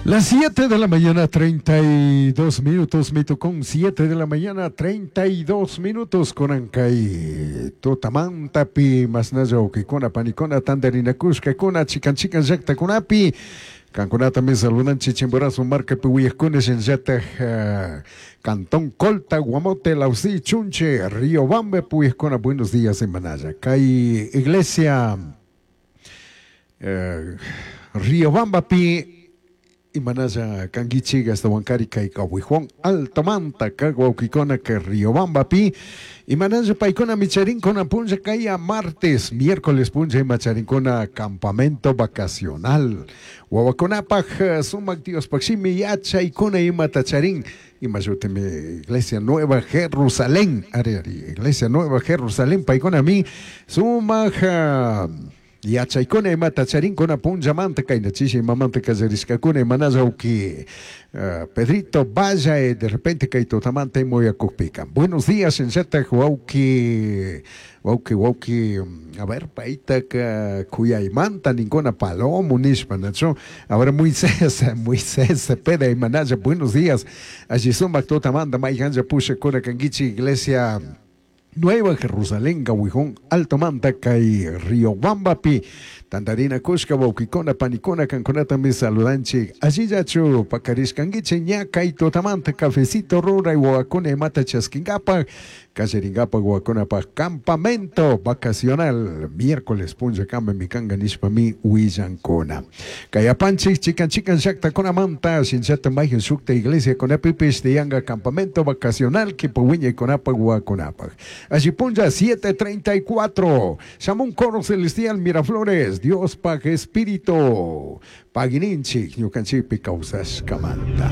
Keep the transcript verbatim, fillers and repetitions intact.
Las siete de la mañana, treinta y dos minutos, me tocó siete de la mañana, treinta y dos minutos, con kay tutamantapi, mashnalla wawkikuna, panikuna, tandarinakushkakuna, chikan chikan llaktakunapi, kankunata mi saludanchik Chimborazo markapi uyajkuna, shinallataj uh, Cantón Colta, Guamote, Lausí, Chunche, Riobamba uyajkuna, buenos días, imanalla. Kay iglesia uh, Riobambapi imanalla kanguichik ashtawankari kay Kawijón Altomanta kag wawkikuna kay Riobambapi imanalla paykuna micharinkuna punlla kaya martes, miércoles punlla imacharinkuna campamento vacacional wawakunapaj sumak Diospaj shimi yachaykuna imata charin imashutimi Iglesia Nueva Jerusalén, ari ari, Iglesia Nueva Jerusalén paykunami sumak yachaykuna imata charinkuna punllamanta kayna chishi imamanta kallarishkakuna imanalla wawki uh, Pedrito vaya de repente kay tutamanta imuyakukpika. Buenos días, shinallatak wawki wawki wawki a ver, paytaka kuyaymanta ninkuna palomo nishpa, nachu? A ver, Moisés, Moisés Cepeda, imanalla, buenos días, alli sumak tutamanta mayhanlla pushakuna kankichik Iglesia Nueva Jerusalén, Gawijón, Alto Manta, kay Riobambapi, tandarina kushka, wawkikuna, panikuna, kankunata mi saludanchik. Allillachu pakarishkankichik ña kay tutamanta cafecito ruray wawakuna imata chaskinkapak, kallarinkapak wawakunapaj campamento vacacional, miércoles punlla kama mikanga nishpami willankuna. Kay apanchik chikan chikan llaktakunamanta, shinllata mayhan shukta iglesia kunapipish tiyanga campamento vacacional kipa wiñaykunapaj wawakunapaj. Allí punlla siete treinta y cuatro. Shamun Coro Celestial Miraflores, Diospaj Espíritu. Pagininchik, ñukanchikpi kawsashkamanta.